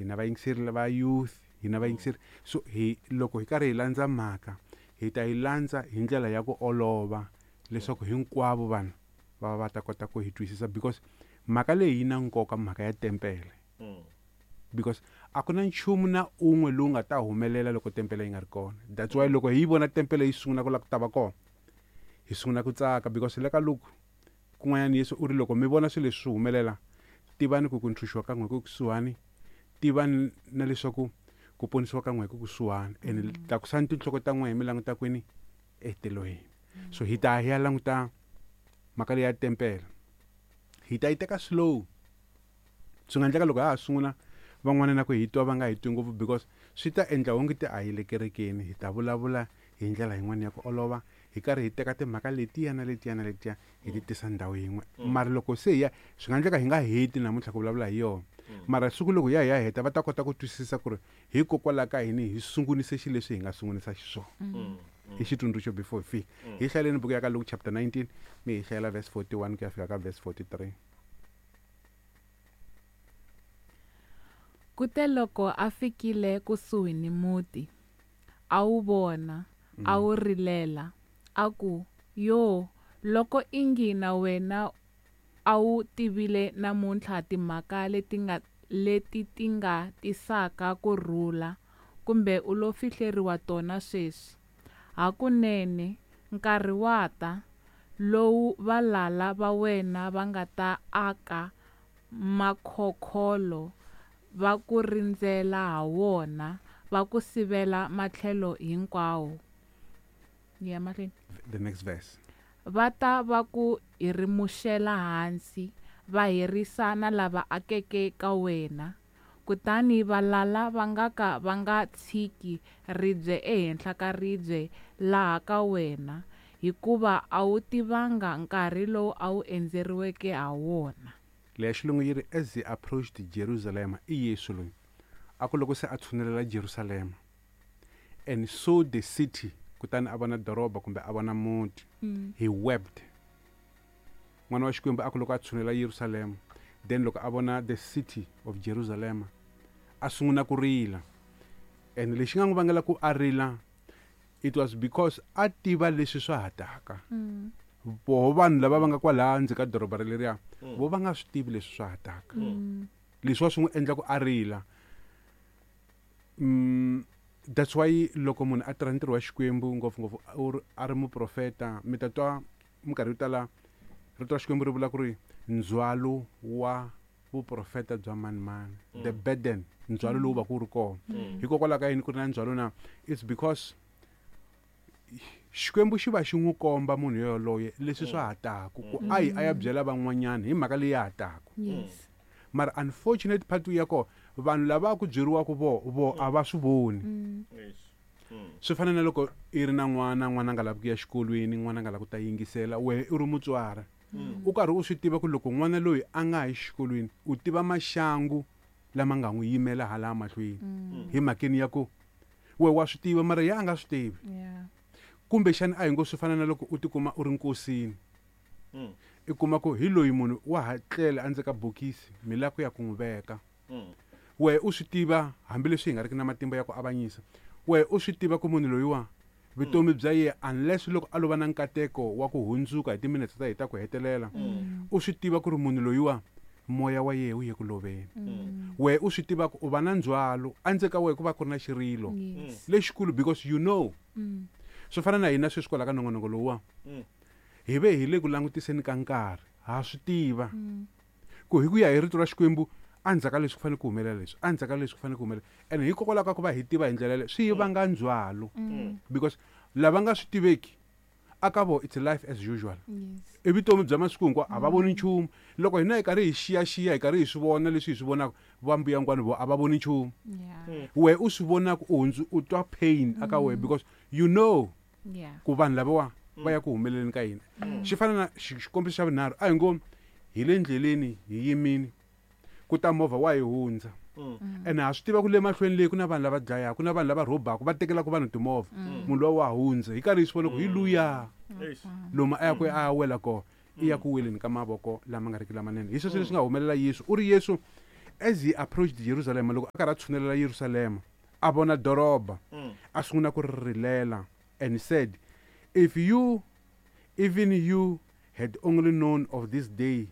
Hi na vayingiseri lava youth, hi na vayingiseri. So hi loko hi karhi hi landza mhaka, hi ta yi landza hi ndlela ya ku olova leswaku hinkwavo vanhu va va ta kota ku hi twisisa, because mhaka leyi yi na nkoka, mhaka ya tempele. Because a ku na nchumu na un'we lowu nga ta humelela loko tempele yi nga ri kona. That's why loko hi yi vona tempele yi sungula ku lava ku ta va kona, hi sungula ku tsaka, because le ka Luke kun'wanyana Yesu u ri loko mi vona swilo leswi swi humelela, tivani ku ku ntshunxiwa ka n'we ku kusuhani, tivani na leswaku ku ponisiwa ka n'we ku kusuhani, and tlakusani tinhloko ta n'we hi mi languta kwini? Etilweni. So hi ta hi ya languta mhaka leyi ya tempele, hi ta yi teka slow. Swi nga endleka loko ha ha sungula van'wana na ku hi twa va nga hi twi ngopfu, because swi ta endla onge ti a hi le kerekeni. Hi ta vulavula hi ndlela yin'wana ya ku olova, hi karhi hi teka timhaka letiya na letiya na letiya hi ti tisa ndhawu yin'we. Mara loko se hi ya, swi nga endleka hi nga heti namuntlha ku vulavula hi yona, mara siku loko hi ya hi ya heta va ta kota ku twisisa ku ri hikokwalaho ka yini hi sungunise xilo leswi hi nga sungunisa xiswona. I xitsundzuxo before hi fika. Hi hlayeleni buku ya ka Luke chapter 19, mi hi hlayela verse 41 ku ya fika ka verse 43. Kuteloko a fikile kusuhi ni muti, a wu vona, a wu rilela, a ku, Yo, loko ingi na wena a wu tivile namuntlha timhaka leti ti nga tisaka ku rhula, kumbe u lo fihleriwa tona sweswi. Hakunene, nkarhi wa ta, lowu valala va wena va nga ta aka makhokholo va ku rindzela ha wona, va ku sivela matlhelo hinkwawo. Ya mahlweni. The next verse. Va ta va ku hirimuxela hansi, va herisa na lava akeke ka wena. Kutani valala va nga ka va nga tshiki ribye ehenhla ka ribye laha ka wena, hikuva a wu tivanga nkarhi lowu a wu endzeriweke ha wona. Leya xilungu yi ri, as he approached Jerusalem, i Yesu loyi a ku loko se a tshunelela Jerusalema, and saw the city, kutani a vona doroba kumbe a vona muti, he wept. N'wana wa Xikwembu a ku loko a tshunela Yerusalema, then loko a vona the city of Jerusalem, a sungula ku rila. And lexi nga n'wi vangela ku a rila, it was because a tiva leswi swa ha taka. Voho vanhu lava va nga kwalaha ndzeni ka doroba ra leriya, vo va nga swi tivi leswi swa ha taka. Leswi wa swi n'wi endla ku a rila. That's why loko munhu a tirha ntirho wa Xikwembu, ngopfungopfu a ri muprofeta, mi ta twa minkarhi yo tala rito ra Xikwembu ri vula ku ri ndzhwalo wa vuprofeta bya mani mani, the burden, ndzhwalo lowu va ku ri kona. Hikokwalaho ka yini ku ri na ndzhwalo na? It's because Xikwembu xi va xi n'wi komba munhu yoloye leswi swa ha taku, ku a yi a ya byela van'wanyana hi mhaka leyi ya ha taku. Mara unfortunate part ya kona, vanhu lava ku byeriwaka vo a va swi voni. Swi fana na loko i ri na n'wana, n'wana a nga lavi ku ya xikolweni, n'wana a nga lavi ku ta yingisela, wehe u ri mutswari. U karhi u swi tiva ku loko n'wana loyi a nga yi xikolweni, u tiva maxangu lama nga n'wi yimela hala mahlweni. Hi mhakeni ya ku wehe wa swi tiva, mara yena a nga swi tivi. Kumbexana a hi ngo swi fana na loko u tikuma u ri nkosini. I kuma ku hi loyi munhu wa ha tlela endzeni ka bokisi, mi lava ku ya ku n'wi veka. Wehe u swi tiva, hambileswi hi nga riki na matimba ya ku avanyisa, wehe u swi tiva ku munhu loyiwa vutomi bya yena, unless loko a lova na nkateko wa ku hundzuka hi timinetse ta hina ta ku hetelela, u swi tiva ku ri munhu loyiwa moya wa yena wu ye ku loveni. Wehe u swi tiva ku u va na ndzhwalo endzeni ka wehe, ku va ku ri na xirilo lexikulu, because you know. Swi fana na hina sweswi kwala ka nongonoko lowuwa, hi ve hi le ku langutiseni ka nkarhi, ha swi tiva ku hi ku ya hi rito ra Xikwembu, endzhaku ka leswi ku fanele ku humelela leswi, endzhaku ka leswi ku fanele ku humelela. And hikokwalaho ka ku va hi tiva hi ndlela yaleyo, swi yi vanga ndzhwalo. Because lava nga swi tiveki, a ka vo it's life as usual. I vutomi bya masiku hinkwawo, a va voni nchumu. Loko hina hi karhi hi xiyaxiya, hi karhi hi swi vona leswi hi swi vonaka, va mbuyangwani vo a va voni nchumu. Wehe u swi vonaka, u hundzu, u twa pain aka wehe, because you know ku vanhu lavawa va ya ku humeleleni ka hina. Xi fana na xikombiso xa vunharhu, a hi ngo hi le ndleleni hi yimini, ku ta movha wa hi hundza. Ene ha swi tiva ku le mahlweni leyi ku na vanhu lava dlayaka, ku na vanhu lava rhobaka, va tekelaka vanhu timovha. Munhu loyi wa hundza, hi karhi hi swi vona ku hi luya. Lomu a ya ku a ya wela kona, i ya ku weleni ka mavoko lama nga riki lamanene. Hi sweswo leswi nga humelela Yesu. U ri Yesu, As he approached Jerusalem, loko a karhi a tshunelela Yerusalema, a vona doroba, a sungula ku ri rilela, and said, "If you, even you, had only known of this day